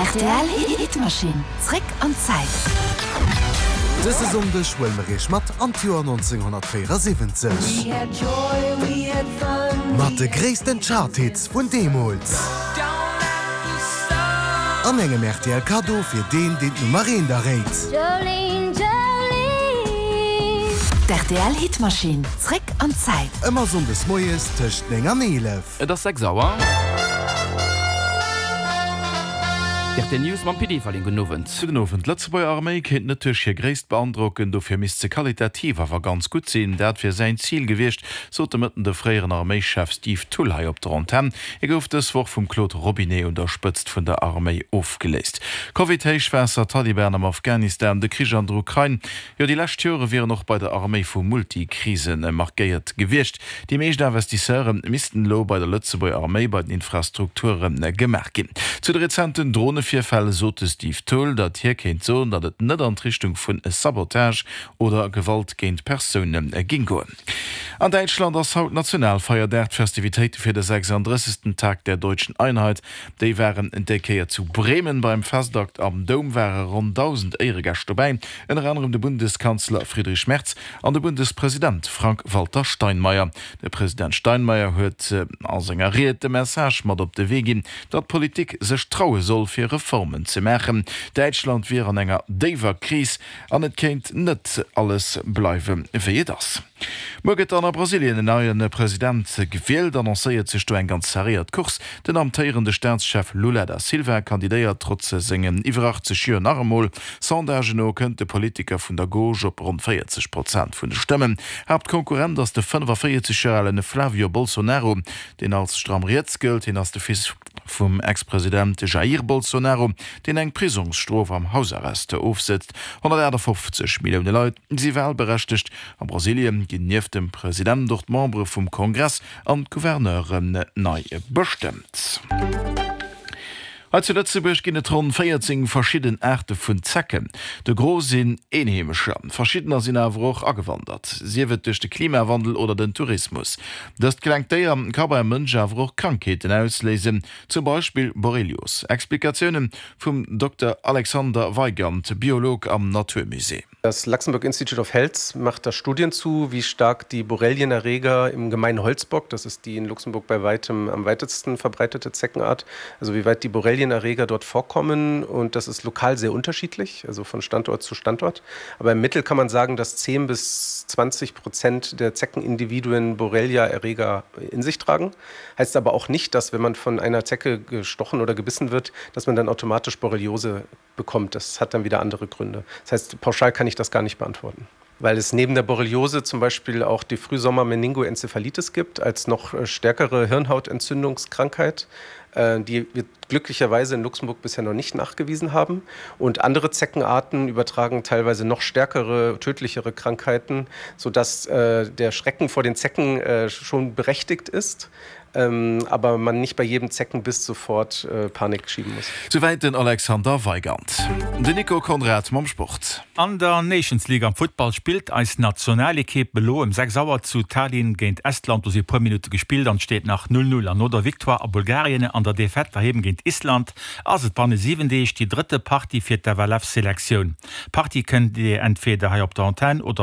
Rtl Hitmaschinn, zréck an d'Zäit. Dëse Sonndeg huele mer iech mat an d'Joer 1974. Mat de gréissten Chart-Hits vun deemools. An engem rtl Kaddo fir deen, deen d'Nummer eent erréit. D'RTL Hitmaschinn, zréck an d'Zäit. Ëmmer Sonndes moies tëscht 9 an 11. Et ass 6 Auer. Rtl News mam Pit Everling. Gudden Owend. Gudden Owend. D'Lëtzebuerger Arméi kéint net duerch hir Gréisst beandrocken, dofir misst se qualitativ awer ganz gutt sinn. Dat wier säin Zil gewiescht, sot de Mëtten de fréieren Arméischef Steve Thull hei op der Antenn. Hie gouf dës Woch vum Claude Robinet un der Spëtzt vun der Arméi ofgeléist. Covid, Héichwaasser, Taliban am Afghanistan, de Krich an der Ukrain, Jo, déi lescht Jore wieren och bei der Arméi vu Multikrise markéiert gewiescht. Déi meescht Investisseure missten elo bei der Lëtzebuerger Arméi bei den Infrastrukture gemaach ginn. Zu de rezenten Dronevirfäll sot de Steve Thull, datt hie kéint soen, datt et net an d'Richtung vun Sabotage oder Gewalt géint Persoune géing goen. An Däitschland ass haut Nationalfeierdag. D'Festivitéite fir de 36. Tag der Deutschen Einheit Déi waren déi Kéier zu Bremen. Beim Festakt am Doum ware ronn 1.000 Éieregäscht dobäi, ënner anerem de Bundeskanzler Friedrich Merz an de Bundespresident Frank-Walter Steinmeier. De President Steinmeier huet a senger Ried de Message mat op de Wee ginn, datt d'Politik sech traue soll, fir Reformen ze maachen. Däitschland wier an enger déiwer Kris an et kéint net alles bleiwe wéi et ass. Muer gëtt dann a Brasilien en neie President gewielt. Annoncéiert sech do eng ganz serréiert Course. Den amtéierende Staatschef Lula da Silva kandidéiert trotz sengen iwwer 80 Joer nach emol. Sondagen no kënnt de Politiker vun der Gauche op ronn 40 Prozent vun de Stëmmen. Haaptkonkurrent ass de 45 Joer alen Flavio Bolsonaro, deen als stramm riets gëllt. Hien ass de Fils vum Ex-President Jair Bolsonaro, deen eng Prisongsstrof am Hausarrest ofsëtzt. 158 Millioune Leit si walberechtegt. A Brasilien ginn nieft dem President och d'Membere vum Kongress an d'Gouverneuren nei bestëmmt. Hei zu Lëtzebuerg ginn et ronn 14 verschidden Aarte vun Zecken. De Gros sinn Eenheemescher, verschiddener sinn awer och agewandert, sief et duerch de Klimawandel oder den Tourismus. Dëst klengt Déier ka beim Mënsch awer och Krankheeten ausléisen, zum Beispill Borrelios. Explikatioune vum Dokter Alexander Weigand, Biolog am Naturmusée. Das Luxembourg Institute of Health macht da Studien zu, wie stark die Borrelienerreger im gemeinen Holzbock, das ist die in Luxemburg bei weitem am weitesten verbreitete Zeckenart, also wie weit die Borrelienerreger dort vorkommen und das ist lokal sehr unterschiedlich, also von Standort zu Standort. Aber im Mittel kann man sagen, dass 10 bis 20 Prozent der Zeckenindividuen Borrelia-Erreger in sich tragen. Heißt aber auch nicht, dass wenn man von einer Zecke gestochen oder gebissen wird, dass man dann automatisch Borreliose bekommt. Das hat dann wieder andere Gründe. Das heißt, pauschal kann ich das gar nicht beantworten. Weil es neben der Borreliose zum Beispiel auch die Frühsommer-Meningoenzephalitis gibt als noch äh, stärkere Hirnhautentzündungskrankheit, äh, die wir glücklicherweise in Luxemburg bisher noch nicht nachgewiesen haben. Und andere Zeckenarten übertragen teilweise noch stärkere, tödlichere Krankheiten, sodass äh, der Schrecken vor den Zecken äh, schon berechtigt ist ähm, aber man nicht bei jedem Zeckenbiss sofort äh, Panik schieben muss. Souwäit den Alexander Weigand. Den Nico Conrad mam Sport. An der Nations League am Futtball spillt eis Nationalekipp elo ëm 6 Auer zu Tallinn géint Estland. Do si puer Minutte gespillt an et steet nach 0, 0. An no der Victoire a Bulgarien an der Defaite doheem géint Island ass et banne 7 Deeg déi drëtte Partie fir d'FLF-Selektioun. D'Partie kënnt Dir entweder hei op der Antenn oder.